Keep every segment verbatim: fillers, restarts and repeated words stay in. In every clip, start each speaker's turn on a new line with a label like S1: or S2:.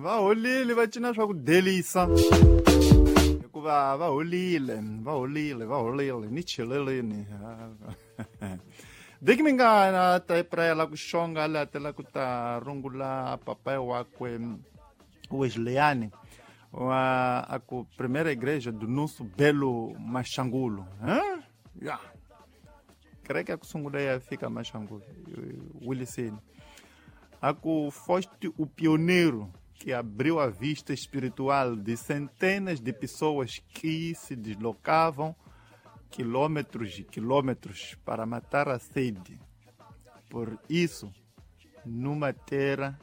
S1: Va holile va cina swa ku delisa. Hikuva va holile, va holile, va holile ni cheleleni. Diki mingana ta prela ku xonga la tela ku ta rungula papai wakwe Wesleyane wa a ku primeira igreja do nosso belo Machangulo. Hã? Ya. Kereke ya ku sungula ya fika Machangulo, Williseni. A ku foste o pioneiro que abriu a vista espiritual de centenas de pessoas que se deslocavam quilômetros e quilômetros para matar a sede. Por isso, numa terra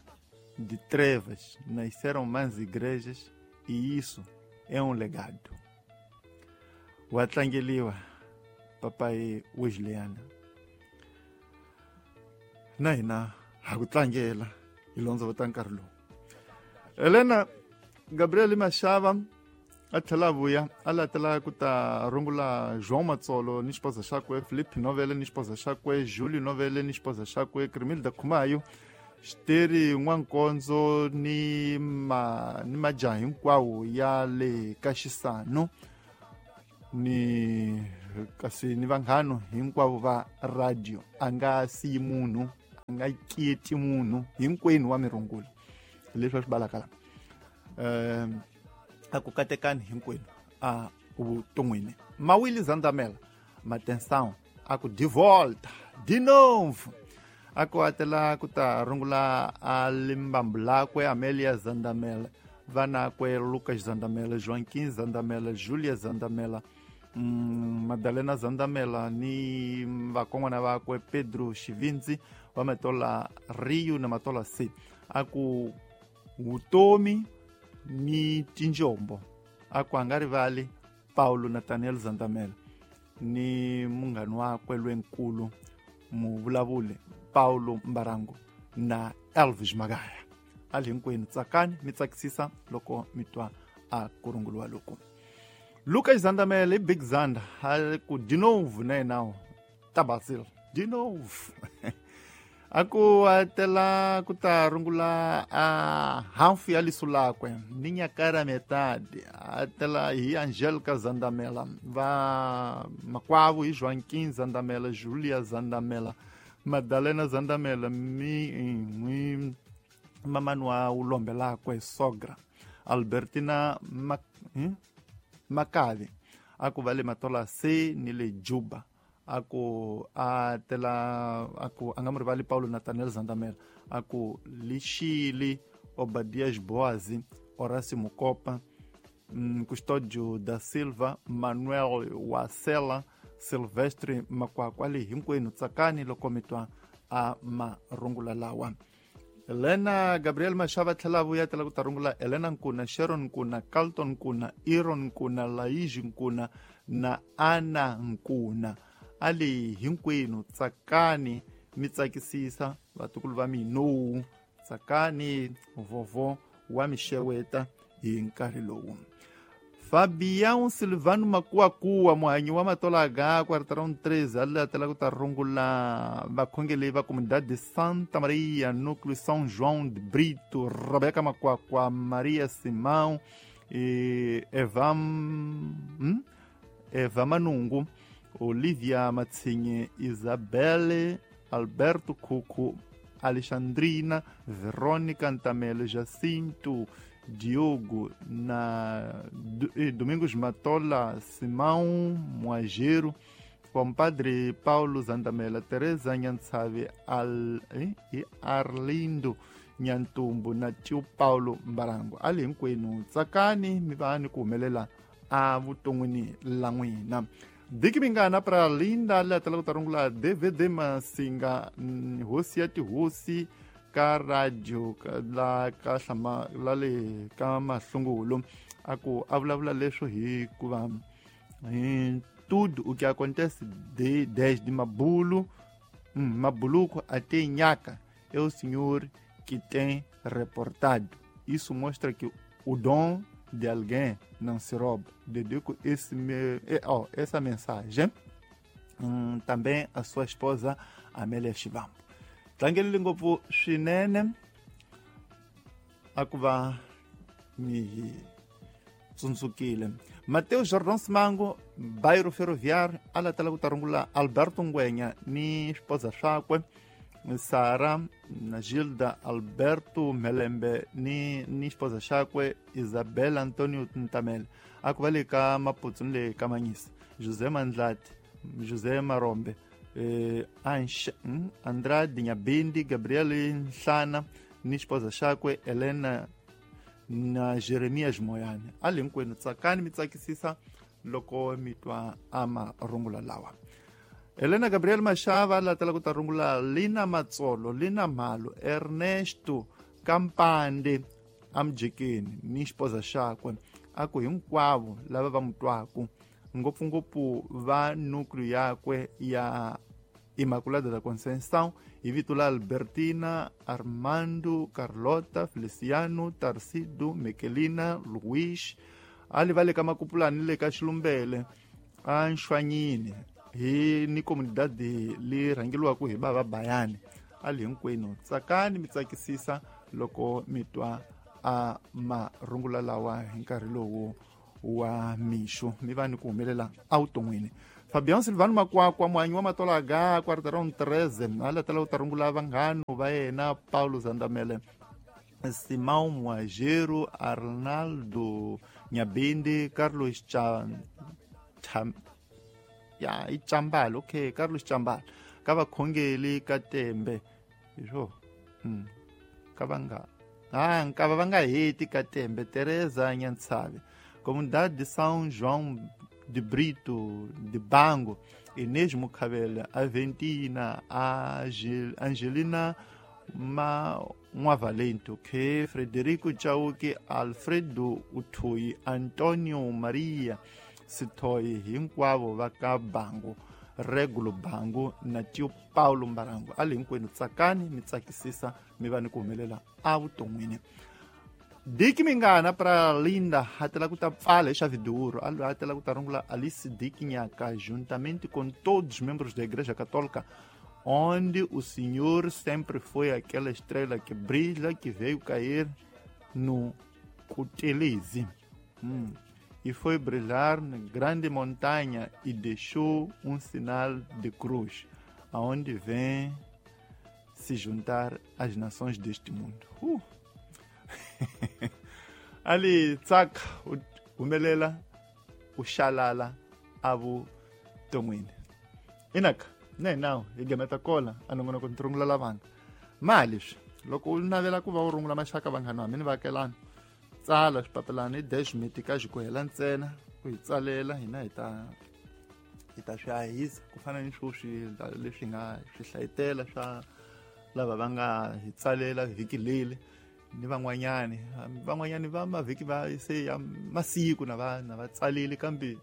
S1: de trevas, nasceram mais igrejas e isso é um legado. O atlangeliwa, papai Wesleyana. Naina, hakutlangela, ilonzo vatankarlo. Helena Gabriel Mashava a tlhela vuya a latela ku ta rungula João Matsolo ni xipoza xakwe, Felipe Novele ni xipoza xakwe, Júlio Novele ni xipoza xakwe, Crimilda Khumayo, Xiteri N'wankonzo ni ma ni majaha hinkwawo ya le ka Xisano ni kasi ni vanghano hinkwavo va radio. A nga siyi munhu, a nga keti munhu, hinkwenu wa mirungula leswi va swi balaka la. Um a ku katekani hinkwenu a vuton'wini. Mawili Zandamela Matensão a ku de volta de novo a ku atela ku ta rungula a limbambu lakwe Amélia Zandamela, vanakwe Lucas Zandamela, Joaquim Zandamela, Julia Zandamela, mm, Madalena Zandamela ni vakon'wana vakwe Pedro Xivindzi wa Matola Rio na Matola C. A ku vutomi ni tinjombo a ku a nga rivali Paulo Nathaniel Zandamela ni munghani wakwe lwenkulu muvulavuli Paulo Mbarango na Elvis Magaya. Ali hinkwenu tsakani mi tsakisisa loko mi twa a ku runguliwa loko. Lucas Zandamela i Big Zanda a ku de novo na yena Tabasil de novo. A ku atela ku ta rungula a hafu ya liso lakwe ni nyakara metade a tela hi Angélica Zandamela, va makwavo hi Joaquim Zandamela, Julia Zandamela, Madalena Zandamela mi mi mamani wa ulombe lakwe sogra Albertina Mac, hmm? Makavi a ku va le Matola C ni le Juba. A ku a tela a ku a nga mu rivali Paulo Nathaniel Zandamela, a ku Lixili Obadias Boazi, Horácio Mukopa, Custódio da Silva, Manuel Wacela, Silvestre Makwakwa. Ali hinkwenu tsakani loko mi twa a marungula lawa. Helena Gabriel Mashava tlhela vuya tela ku ta rungula Helena Nkuna, Sharon Nkuna, Carlton Nkuna, Iron Nkuna, Laiji Nkuna na Ana Nkuna. Ali hinkwenu tsakani mi tsakisisa vatukulu va mina, tsakani vovo wa mixeweta hi nkarhi lowu. Fabião Silvano Makuakuwa, muhanyi wa Matola H, quarteirão treze, ali atela ku ta rungula vakhongeli va comunidade de Santa Maria, núcleo São João de Brito, Rebeca Makuakua, Maria Simão, e Eva, hum? Eva Manungo, Olivia Matsinhe, Isabelle, Alberto Cuco, Alexandrina, Verônica Antamela, Jacinto, Diogo, na Domingos Matola, Simão Moageiro, compadre Paulo Zandamela, Teresa Nhantsave Al, eh, e Arlindo Nhantumbo na tio Paulo Mbarango. Ali hinkwenu tsakani mi va ni ku humelela a vuton'wini la n'wina. Diki mingana pra Linda la tela ku ta rungula D V D Masinga, hosi ya tihosi ka radio la ka hlama la le ka mahlungulo. A ku a vulavula leswo hikuva hi tudo o que acontece de desde Mabulo, hum, Mabuluco até Nhaca é o senhor que tem reportado. Isso mostra que o dom de alguém não se rouba. Dedico esse meu, oh, essa mensagem hum, também à sua esposa Amélia Chivambo. Tlangelile ngopfu swinene a ku va mi hi tsundzukile. Mateo Jordan Simango Bairro Ferroviário a latela ku ta rungula Alberto Ngwenya ni swipoza swakwe Sara na Gilda Alberto Melembe ni ni xipoza xakwe Isabel Antonio Ntamela a ku va le ka Maputsu ni le ka Manyisa José Mandlati José Marombe eh, Ansh, Andrade Nyabindi Gabriel Nhlana ni xipoza xakwe Elena na Jeremias Moyane. A le hinkwenu tsakani mi tsakisisa loko mi twa a marungula lawa. Elena Gabriel Mashava latela ku ta rungula Lina Matsolo Lina Mhalo Ernesto Kampande amjekeni ni xipoza xakwe a ku hinkwavo lava va mu twaku ngopfungopfu va núcleo yakwe ya Imaculada da Conceição hi vito la Albertina Armando Carlota Feliciano Tarcido Mekelina Luis a li va le ka Makupulani le ka Xilumbele a Nxwanyini hi ni comunidade li rhangeliwaka hi bava Bayani. A li hinkwenu tsakani mi tsakisisa loko mi twa a marungula lawa hi nkarhi lowu wa mixo mi va ni ku humelela evuton'wini. Fabian Silvano Makwakwa muhanyi wa Matolaga quarteirão treze a latela ku ta rungula vanghano va yena Paulo Zandamele Simão Moageiro Arnaldo Nyabindi Carlos Cha, Cha ya i Chambala okay Carlos Chambala ka vakhongeli ka Tembe hi mm ka va nga ah nkava va nga heti ka Tembe Teresa Nyantsave Comunidade de São João de Brito de Bango Inês Mukhabela Aventina Angelina Ma Nwavalente okay Frederico Chauke Alfredo Uthoyi Antonio Maria Sithoyi hinkwavo va ka Bango Regulo Bango na Tio Paulo Mbarango. A le hinkwenu tsakani mi tsakisisa mi va ni ku humelela evuton'wini. Diki Mingana para Linda hatela ku ta pfala hi Chave de Ouro a hatela ku ta rungula Alice Dick Nhaka juntamente com todos os membros da Igreja Católica onde o Senhor sempre foi aquela estrela que brilha que veio cair no Cutelezi. Hum. E foi brilhar na grande montanha e deixou um sinal de cruz, aonde vem se juntar as nações deste mundo. Uh. Ali tsaka humelela u xalala evuton'wini. Inaka ne nawu hi gemeta kola a nongonoko ni rungula lavanga ma leswi loko u navela ku va u rungula maxaka vanghana va mina vaakelani tsala swipapelani i dash miti ka xikuhela ntsena u hi tsalela hina hi ta hi ta swi hahisa ku fana ni swoswi leswi nga swi hlayitela swa lava va nga hi tsalela vhiki leli ni van'wanyani van'wanyani va mavhiki va se ya masiku na va na va tsalile kambe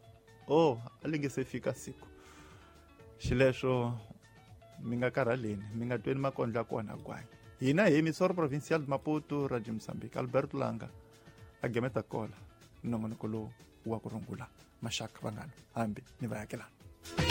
S1: oh a li nge se fika siku xileswo mi nga karhaleni mi nga tweni makondlo ya kona gwanyi. Hina hi Emissora Provincial de Maputo Radio Moçambique Alberto Langa a gemeta kola nongonoko lowu wa ku rungula maxaka vanghana hambi ni vaakelani.